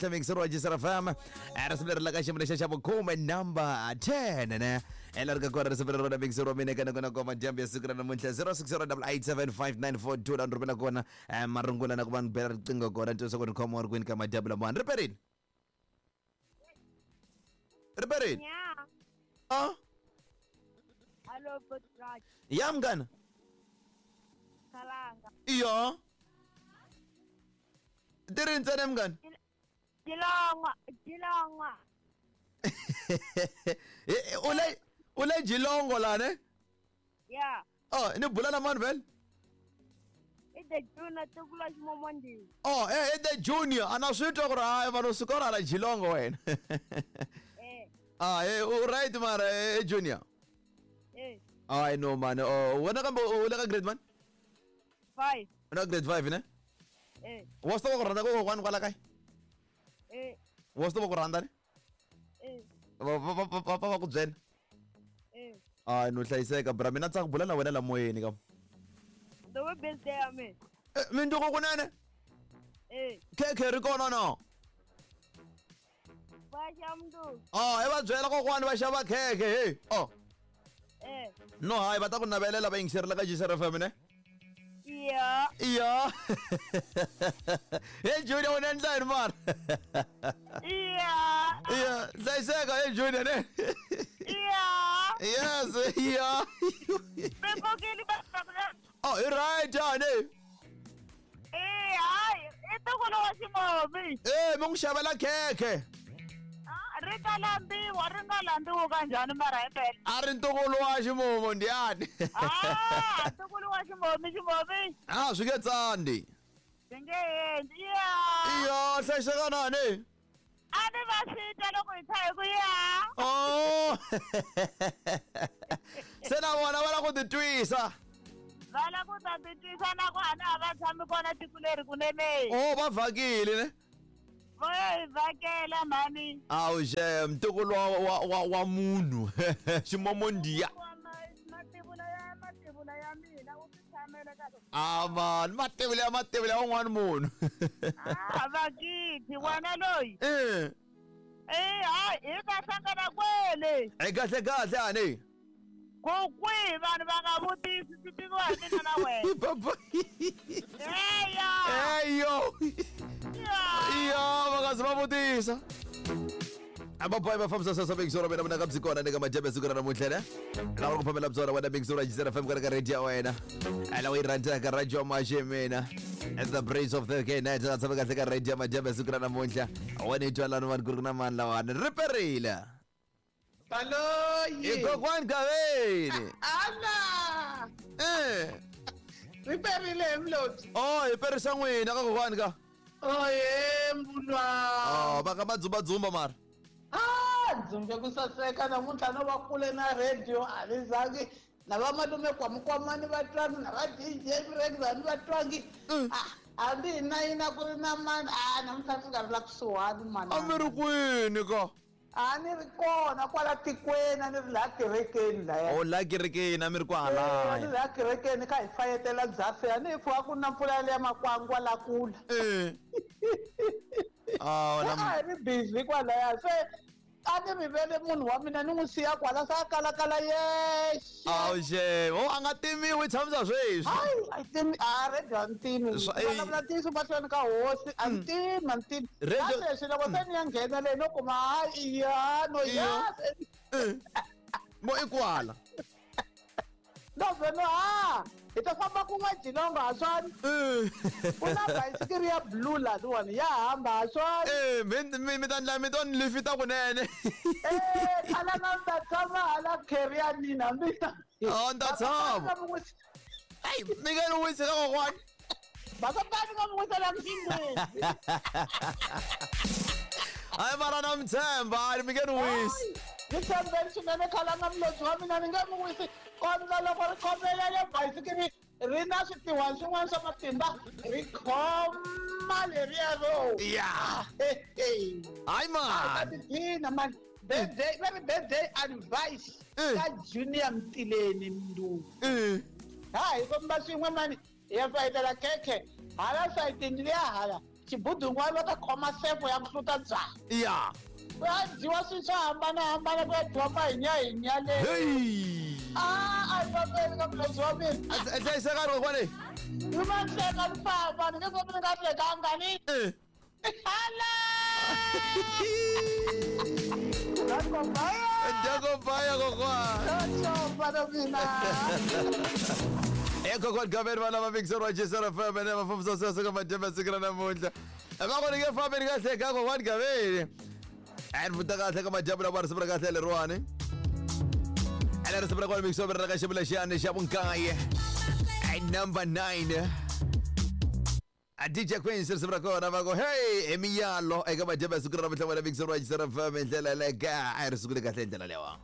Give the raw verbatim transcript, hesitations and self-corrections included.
Mixer wa Jisara F M risimu leri la ka xiyimo lexa xa vukhume number ten ne ela ri ka kona risimu leri rona mixer wa mina kana kona koma dyambu ya siku ra namuntlha zero six zero double eight seven five nine four two la ni rhumela kona marungula na ku va ni bela riqingho kona ni twisisa ku ni khoma ri kwini ka madyambu lamawani riperini riperini ah Hello, Butraj. Ya mngana Kalanga. Iyo Tiri ntsena mngani Jilongwa, Jilongwa. Ule ule Jilongo la ne? Yeah. Oh, ni bula na Manuel? Ide Junior tukula ximomondi. Oh, eh ide Junior ana swi twa ku ri hayi vanhu suka ra la Jilongo wena. Eh. Ah, eh u right mara eh Junior. Eh. I know man. Oh, wena kambe u le ka grade man? five. Una grade five ne? Eh. Wa swi tiva ku rhandza kokwani kwala kaya? Eh. Wa swi tiva ku rhandza ne? Eh. Va va va va ku byela? Eh. Ah, no hlayiseka bra mina tsaka bula na wena la moyeni ka. The way birthday ya me. Eh, mindzuku kunene? Eh. Khekhe ri kona no? Va xa mndu. Ah, i va byela kokwani va xava khekhe hey. Oh. Eh. No hayi va ta ku navelela va yingiserile ka Jisara F M ne? Yeah. Yeah. Hey Junior u endla yini mara? Yeah. Yeah, hlayiseka hey Junior ne? Yeah. Yes, yeah. Bebokile ba. Oh, i right ne? Eh, hayi, i ntukulu wa ximomi. Eh, mi n'wi xavela khekhe. Ah, ri nga lambiwa, ri nga lambiwa kanjhani mara himpela? A ri ntukulu wa ximomo ndiyani. Ah, ntukulu wa ximomi, ximomi. Ah, swi nge tsandi. Swi nge endli. Yeah. Iya, hlayiseka na ne? A ni va swi twa loko hi tsha hi ku ya. Oh. Se na vona va lava ku titwisa. Va lava ku ta titwisa na ku a na ha va tshami kona tiko leri kunene. Oh, va vhakile ne? Va hi vhakela mhani. Awu xe ntukulu wa wa wa, wa munhu ximomo ndiya. Mativula ya mativula ya mina u ti tshamela ka. Ah man, mativula ya mativula ya un'wana munhu. Ah, vakithi wena loyi. Eh. Eh, hayi hi ta hlangana kwele. Eh kahle kahle ani. Ku kwihi vanhu va nga vutisi swi tiviwa hi mina na wena. Baba. Eya. Eyo. Iya, va nga zi va vutisa. Ababoy va fambisa sasa mixoro mina mina kabzi kona eka madyambu ya siku ra namuntlha ne lava ku phamela byona wena mixoro Jisara F M ka radio ya wena ala wu yi rhandzaka radio maxe mina at the brace of the K night na tshama kahle ka radio ya madyambu ya siku ra namuntlha wena i twa lani vanhu ku ri na mani lawani ri perile Baloyi i kokwani Gaveni ala eh ri perile mloti. Oh, hi perisa n'wina ka kokwani ka. Oye mbulwa. Oh, va ka va dzumbadzumba mara. Ah, dzumbe ku saseka namuntlha no va kule na radio a ni zangi na va malume kwamukwamani va twangi na va D J Mrekzani va twangi. Ah, hambi hi na yina ku ri na mani a namuntlha ndzi nga ri la kusuhani mani. A mi ri kwini ka? A ni ri kona kwala tikweni a ni ri laha kerekeni laya. Oh, laha kerekeni a mi ri kwahalaya. A ni ri laha kerekeni kha hi fayetela byafe a ni hi pfuka ku na mpfula liya makwangwa la kula. Eh. Ah, a hi ri busy kwalaya se a ni rivele munhu wa mina ni n'wi siya kwala se a kalakala yexe. Awu xe, o a nga timiwi tshamisa sweswi. Hayi, a timi a radio a ni timi. Vulavula ntiyiso mahlweni ka hosi a ni timi a ni timi. Na sweswi loko se ni ya nghena leyi no kuma hayi ya no ya. Mo i kwala. No veno ha hi ta famba kun'we Jilongo ha swona. Ku na bayisikiri ya blue laniwani ya hamba ha swona. Eh, mi mi ta ndla mi to ni lifita kunene. Eh, khala na ta tshama hala carrier ya nina mina. Oh, ni ta tshama. Hey, mi nga ni wisi ka kokwani. Va ka ni nga mi wisela mxingweni. Hayi mara na mi tshemba, hayi mi nge ni wisi. Ni tshembeni swinene khalanga mlodzi wa mina ni nge mi wisi. Kondza loko ri khomelele bayisikiri ri na switiwani swin'wana swa matimba ri khoma leriya ro. Ya. Hayi man. Tiphina man. Birthday, va ri birthday advice ka Junior Mtileni Mnduku. Ha hi komba swin'we mani hi ya fayetela khekhe hala sayitini liya hala. Xibudun'wana va ta khoma sefo ya ku hluta byala. Ya. Ku ya dyiwa swilo swo hambanahambana, ku ya dyiwa mahinyahinya le. Hey. A a hi fambeni ka mulezi wa mina. A hlayisekani kokwani. Ni ma hleka ni famba, ni nge fambi ni nga hlekanga ni. Eh. Hala! Ndakobaya! Ndakobaya kokwani. Ciao, mfana mina. E kokwani Gaveni va lava Mixer wa G S F M ene va fambisa sweswo ka madyambe siku ra namuntlha. Va ku ni nge fambi ni nga hleka kokwani Gaveni. A ni vuta kahle ka madyambu lama risimu ra kahle leriwani. Ene risimu ra kona Mixer ra ka xivula xiyani xa vunkaye. Number nine. A D J Queens risimu ra kona va ku hey i miyalo eka madyambe siku ra namuntlha wena Mixer wa G S F M hi ndlela yaleyo ka a hi ri sungule kahle hi ndlela leyiwa.